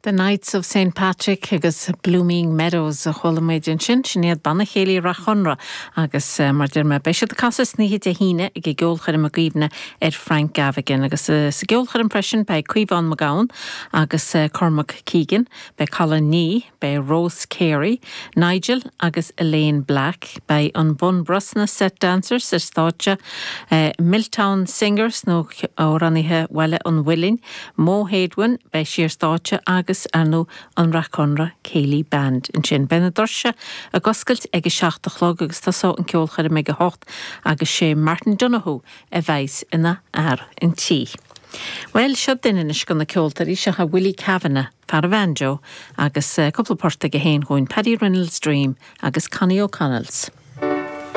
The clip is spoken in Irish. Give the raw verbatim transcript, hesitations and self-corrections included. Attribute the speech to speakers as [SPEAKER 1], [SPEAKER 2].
[SPEAKER 1] The Knights of St Patrick agus Blooming Meadows a chuala muid ansin sin iad Banna Céilí Rath Chonra agus uh, mar deir mé beidh siad ag casadh san oíche Dé hAoine ag an gceolchoirm i gcuimhne ar Frank Gavigan agus uh, sa gceolchoirm freisin beidh Caomhán Mac Gabhann agus uh, Cormac Keegan, beidh Colin Nee, beidh Rose Carey, Nigel agus Elaine Black, beidh an Bunbrosna Set Dancers ar stáitse uh, Milltown Singers nó amhránaithe Bhaile an Mhuilinn, Mo Héadhain beidh sí ar stáitse agus agus arnó an Rathconra Céilí Band ansin. Beidh na doirse ag oscailt ag a seacht a chlog agus tosóidh an ceolchoirm ag a hocht agus sé Martin Donoghue a bheas ina fhear an tí. Well seo duine anois de na ceoltóirí seo é Willie Kavanagh, fear an bhanjo agus uh, cúpla port aige féin dúinn Paddy Reynolds Dream agus Connie O'Connell's.